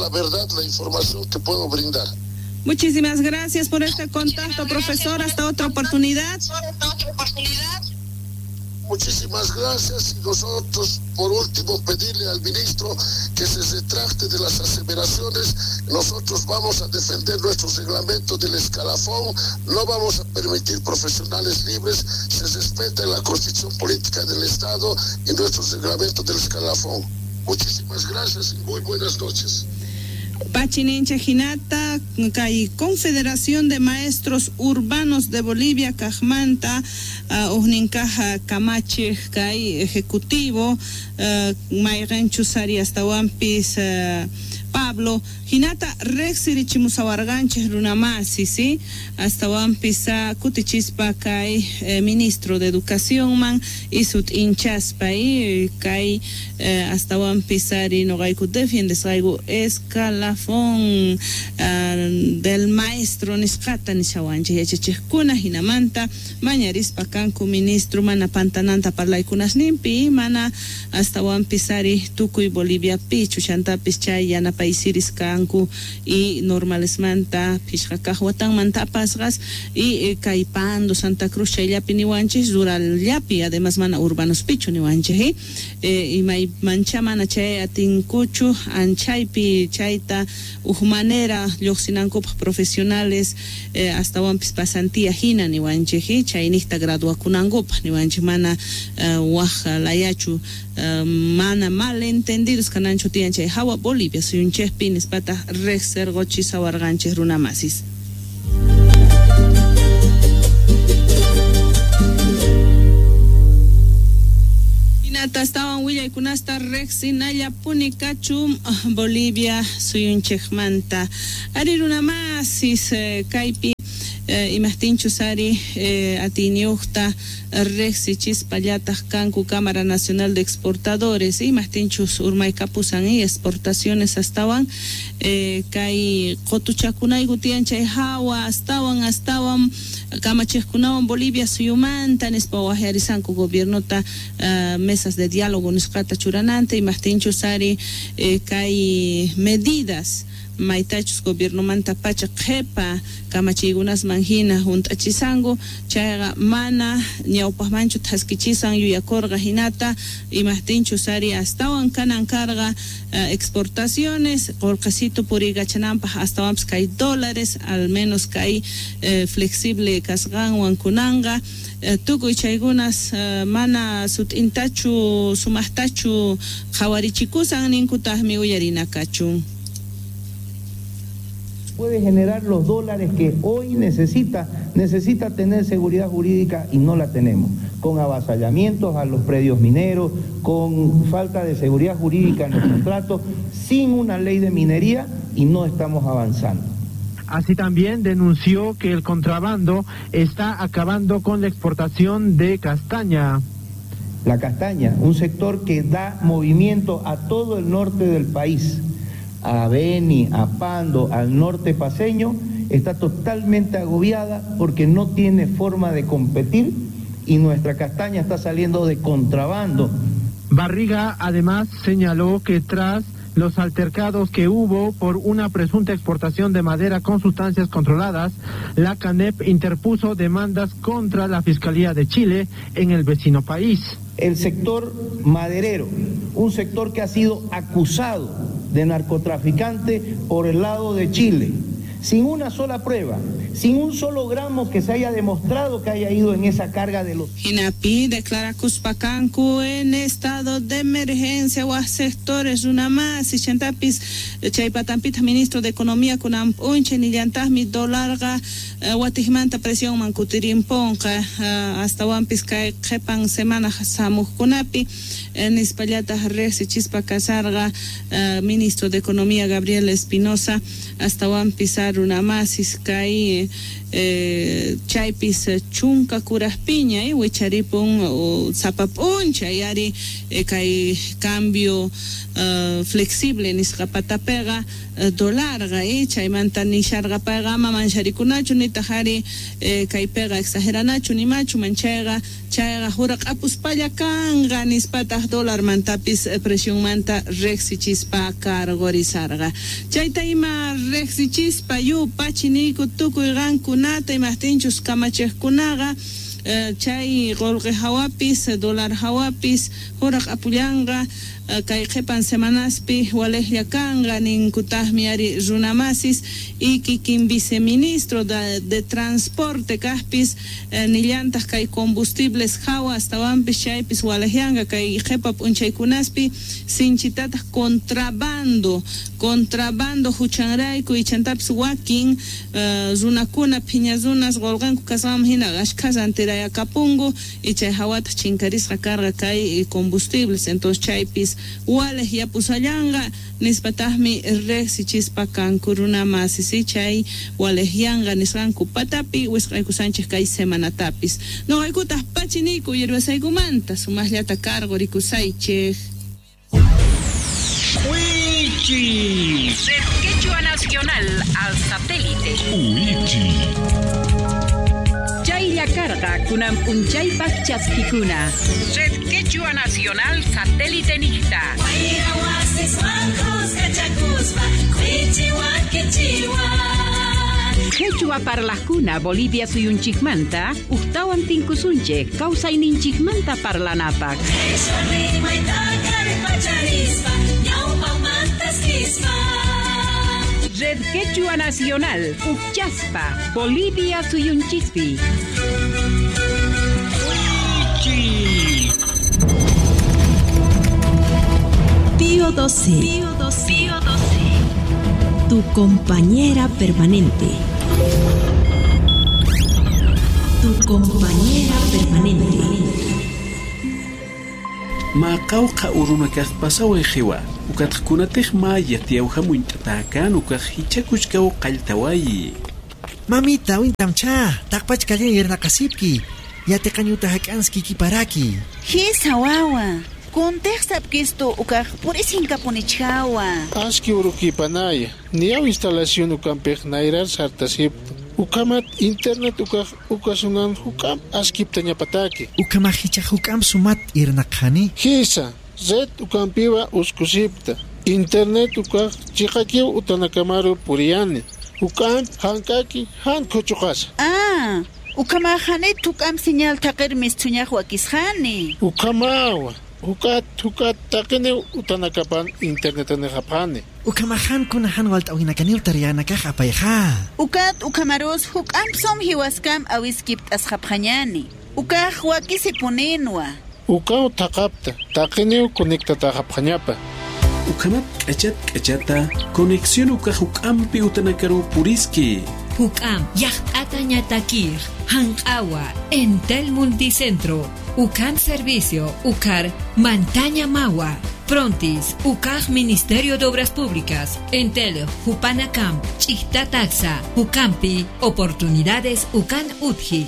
La verdad, la información que puedo brindar. Muchísimas gracias por este contacto, profesor. Hasta otra oportunidad. Muchísimas gracias y nosotros, por último, pedirle al ministro que se retracte de las aseveraciones. Nosotros vamos a defender nuestro reglamento del escalafón, no vamos a permitir profesionales libres, se respeta la Constitución Política del Estado y nuestro reglamento del escalafón. Muchísimas gracias y muy buenas noches. Pachinincha Hinata, kay Confederación de Maestros Urbanos de Bolivia, kajmanta, ujninkaja kamachej kay ejecutivo, mayqenchus ari astawanpis Pablo hinata riqsirichimusawarqanchik runamasi, ¿sí? Astawanpis kutichispa kay ministro de Educacionman y sut'inchaspa y kay astawanpis ari noqayku defiendesqayku escalafón del maestro nisqata nishawanchik yachachiqkuna hinamanta mañarispa kanku ministro mana pantananta parlaykunasninpi mana astawanpis ari tukuy Boliviapichu chantapis chay yanapaysiris kanku y normalesmanta phishqa kaq watanmanta apasqas y kay Pando, Santa Cruz chayllapi niwanchik rurallapi además mana urbanospichu niwanchik imaymancha mana chay atinkuchu anchaypi chayta uj manera lluqsinankupaq profesionales astawanpis pasantía hina niwanchik chayniqta graduakunankupaq niwanchik mana waj layachu mana malentendidos kananchu tiyan chay hawa Bolivia suyunchikpi nispataq riqsirquchisawarqanchik runamasis. Hinata astawan willaykunasta riqsinallapuni kachun Bolivia suyunchikmanta. Ari runamasis kaypi imajtinchus ari atiyniyuqta riqsichispa-llataq kanku Cámara Nacional de Exportadores imajtinchus urmaykapusan y exportaciones astawan kay qutuchakunayku tiyan chay hawa astawan kamachiqkunawan Bolivia suyumanta nispa waqyarisanku gobiernota mesas de diálogo nisqata churananta imajtinchus ari kay medidas maytachus gobiernomanta pacha qhipa kamachiykunasman hina hunt'achisanku chayqa mana ñawpaqmanchu thaskichisan yuyakurqa hinata imajtinchus ari astawan kanan karqa exportaciones qullqisito puriykachananpaq astawanpis kay dólares al menos kay flexible kasqanwan kunanqa tukuy chaykunas mana sut'intachu sumaqtachu qhawarichikusan ninkutaqmi uyarina kachun. Puede generar los dólares que hoy necesita tener seguridad jurídica y no la tenemos, con avasallamientos a los predios mineros, con falta de seguridad jurídica en los contratos, sin una ley de minería y no estamos avanzando. Así también denunció que el contrabando está acabando con la exportación de castaña. La castaña, un sector que da movimiento a todo el norte del país, a Beni, a Pando, al norte paceño, está totalmente agobiada porque no tiene forma de competir y nuestra castaña está saliendo de contrabando. Barriga además señaló que tras los altercados que hubo por una presunta exportación de madera con sustancias controladas, la CANEP interpuso demandas contra la Fiscalía de Chile en el vecino país. El sector maderero, un sector que ha sido acusado de narcotraficante por el lado de Chile, sin una sola prueba, sin un solo gramo que se haya demostrado que haya ido en esa carga de los... Hinapi declara Cuspacancu en estado de emergencia o a sectores una más y chantapis chaypatampita ministro de Economía kunampunche nillantaqmi dólarqa watijmanta presión mankutirimponqa hasta wampis kay qhipan semana samuqkunapi nispallataq riqsichispa kasarqa ministro de Economía Gabriel Espinosa hasta wampis Chanta runamasis kay chaypis chunka kurajpiña wicharipun sapa p'unchay ari kay cambio flexible nisqa patapiqa dolarqa chaymanta nisharqa payqa ama mancharikunachu nitaq ari kaypiqa exageranachu nimachu manchayqa chayqa huraq'apuspalla kanqa nispataq dolarmantapis presionmanta riqsichispa cargorizarqa chayta ima riqsichispa yupachiniyku tukuy qankunata imaqtinchus kamachiqkunaqa chay qolqe hawapis dólar hawapis huraq'apullanqa kay qhipan semanaspi walejlla kanqa ninkutaqmi ari runamasis y kikin viceministro de transporte kaqpis nillantaq kay combustibles hawa astawanpis chaypis walejyanqa kay qhipa p'unchaykunaspi sinchitataq contrabando huchanrayku ichantapis wakin runakuna phiña runas qolqanku kasqanman hina ashkhas antirayakapunku y chay hawataq chinkarisqa karqa kay combustibles entonces chaypis walej yapusallanqa nispataqmi riqsichispa kanku runamasis chay walejyanqa nisqanku patapi wisq'aykusanchik kay semanatapis noqaykutaq pachiniyku uyariwasaykumanta sumaqllata cargorikusaychik. Wichi. Red Quechua Nacional al satélite. Wichi. Chaylla karqa kunan p'unchaypaq chaskikuna. Red Quechua Nacional satélite nijta. Quechua parlajkuna Bolivia suyunchikmanta uqtawan tinkusunchik kawsayninchikmanta parlanapaq. Red Quechua Nacional, Uchaspa, Bolivia suyunchispi. Pío XII. Pío XII. Tu compañera permanente. Tu compañera permanente. Maqawqa urunakaq pasaway qiwa ukatqkunataq maya tiyawhamunt'atakan ukaq hichakuchkaw qalltawayi. Mamita wintamcha taqpachkallan yernaqasipki yatiqañuta hak'anski kiparaki. Hisa wawa kuntiqsapkistu ukaq purisinkamunichkawa. Aski urukipanaya niyaw instalación ukampiq nayrar sartasipta. Ukamat internet ukaq ukasunan hukam askipta ñapataki. Ukama hicha hukam sumat irnaqhani. Hisa red ukampiwa uskusipta. Internet ukaq chiqakiw utanakamaru puriyani. Hukam hankaki han kuchuqasa. Ah, ukama hanit hukam señal taqirmis thuñaq wakisqani. Ukamawa. Hukat hukat taqini utanakapan internet nehapani. Ukamahan kunahan walt'awinakanil tariyanakaj apayja. Ukat ukamaros hukam som hiwaskam awiskipt asqapqañani. Ukaj wakisipuninwa. Ukaw taqapta taqiniw conectataqapqañapa. Ukamat k'achat k'achata conexión ukaj hukampi utanakaru puriski. Hukam yaqt'ata ñatakir hanq'awa Entel Multicentro Ukam Servicio Ukar Mantaña Mawa Frontis Ukaj Ministerio de Obras Públicas Entel Jupanacam Chictataxa Ukampi Oportunidades Ukan Utji.